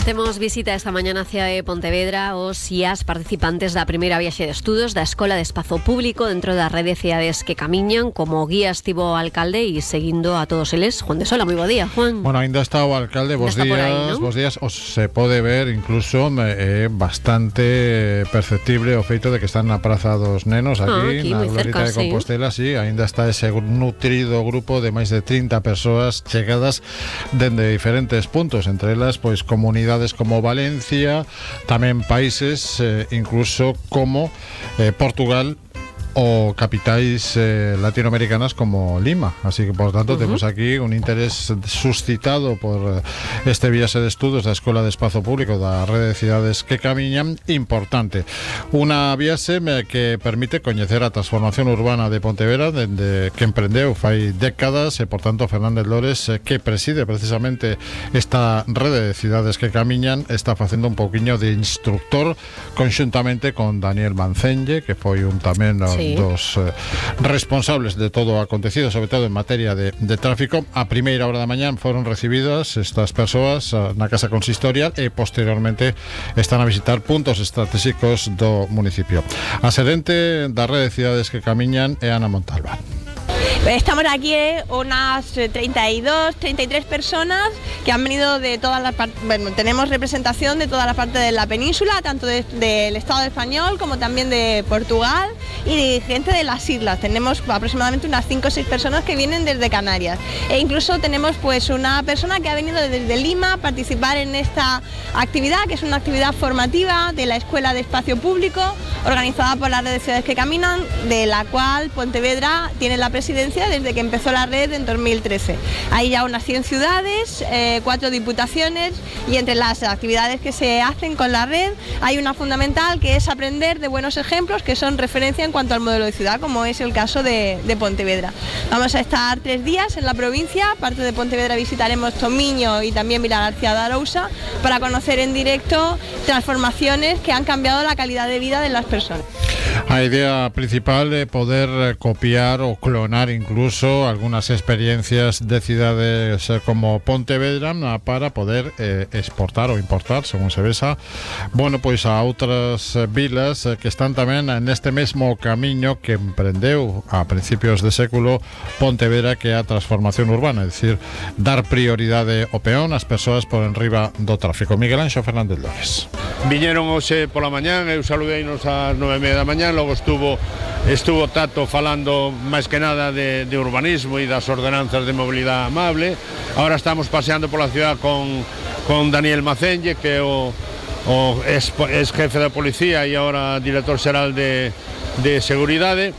Temos visita esta mañana hacia Pontevedra os IAS participantes da primeira viaxe de estudos da Escola de Espazo Público dentro da rede de cidades que camiñan. Como guía estivo o alcalde e seguindo a todos eles Juan de Sola. Moi bo día, Juan. Bueno, ainda está o alcalde, vos días, aí, ¿no? Vos días, os se pode ver incluso bastante perceptible o feito de que están na Praza dos Nenos aquí na Glorieta de Compostela, sí, ainda está ese nutrido grupo de máis de 30 persoas chegadas dende diferentes puntos, entre elas pois comunidades como Valencia, tamén países incluso como Portugal o capitais latinoamericanas como Lima, así que por tanto temos aquí un interés suscitado por este viaxe de estudos da Escola de Espazo Público da Rede de Cidades que Camiñan importante, unha viaxe que permite coñecer a transformación urbana de Pontevedra dende que emprendeu fai décadas e por tanto Fernández Lores, que preside precisamente esta Rede de Cidades que Camiñan, está facendo un pouquiño de instructor conxuntamente con Daniel Mancenlle, que foi un tamén dos responsables de todo o acontecido, sobre todo en materia de tráfico. A primeira hora da mañán foron recibidas estas persoas na Casa Consistorial e posteriormente están a visitar puntos estratégicos do municipio. A xerente da Rede de Cidades que Camiñan é Ana Montalbán. Estamos aquí unas 32, 33 personas que han venido de todas las partes. Bueno, tenemos representación de toda la parte de la península, tanto del Estado español como también de Portugal y gente de las islas. Tenemos aproximadamente unas 5 o 6 personas que vienen desde Canarias. E incluso tenemos pues una persona que ha venido desde Lima a participar en esta actividad, que es una actividad formativa de la Escuela de Espacio Público, organizada por la Red de Ciudades que Caminan, de la cual Pontevedra tiene la presidencia desde que empezó la red en 2013. Hay ya unas 100 ciudades, 4 diputaciones, y entre las actividades que se hacen con la red hay una fundamental, que es aprender de buenos ejemplos que son referencia en cuanto al modelo de ciudad, como es el caso de Pontevedra. Vamos a estar 3 días en la provincia. Aparte de Pontevedra visitaremos Tomiño y también Vilagarcía de Arousa para conocer en directo transformaciones que han cambiado la calidad de vida de las personas. A idea principal é poder copiar ou clonar incluso algunas experiencias de cidades como Pontevedra para poder exportar ou importar, según se vesa, bueno, pois a outras vilas que están tamén neste mesmo camiño que emprendeu a principios de século Pontevedra, que é a transformación urbana, é dicir, dar prioridade ao peón, as persoas por enriba do tráfico. Miguel Anxo Fernández Lores. Viñeron hoxe pola mañán, eu saludeinos ás 9:30 da mañán, logo estuvo Tato falando máis que nada de urbanismo e das ordenanzas de mobilidade amable. Ahora estamos paseando pola ciudad con Daniel Mancenlle, que é o ex jefe da policía e agora director xeral de seguridade.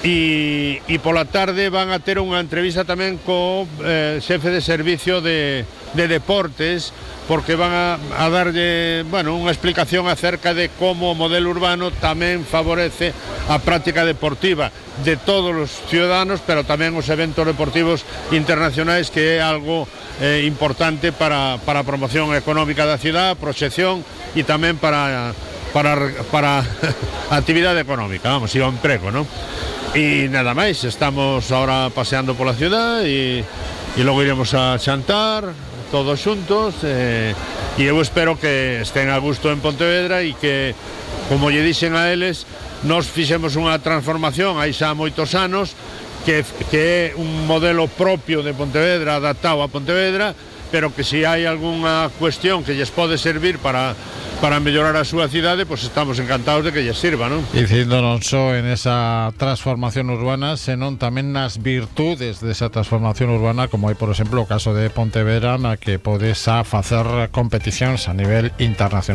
E pola tarde van a ter unha entrevista tamén co xefe de servicio de deportes, porque van a darlle, bueno, unha explicación acerca de como o modelo urbano tamén favorece a práctica deportiva de todos os ciudadanos, pero tamén os eventos deportivos internacionais, que é algo importante para a promoción económica da cidade, proxección e tamén para a actividade económica, vamos, e o emprego, non? E nada máis, estamos ahora paseando pola ciudad e logo iremos a xantar todos xuntos, e eu espero que estén a gusto en Pontevedra e que, como lle dixen a eles, nos fixemos unha transformación hai xa moitos anos que é un modelo propio de Pontevedra, adaptado a Pontevedra, pero que se hai algunha cuestión que lles pode servir para mellorar a súa cidade, pois estamos encantados de que lles sirva, non? Dicindo non só en esa transformación urbana, senón tamén nas virtudes desa transformación urbana, como hai, por exemplo, o caso de Pontevedra, na que podes facer competicións a nivel internacional.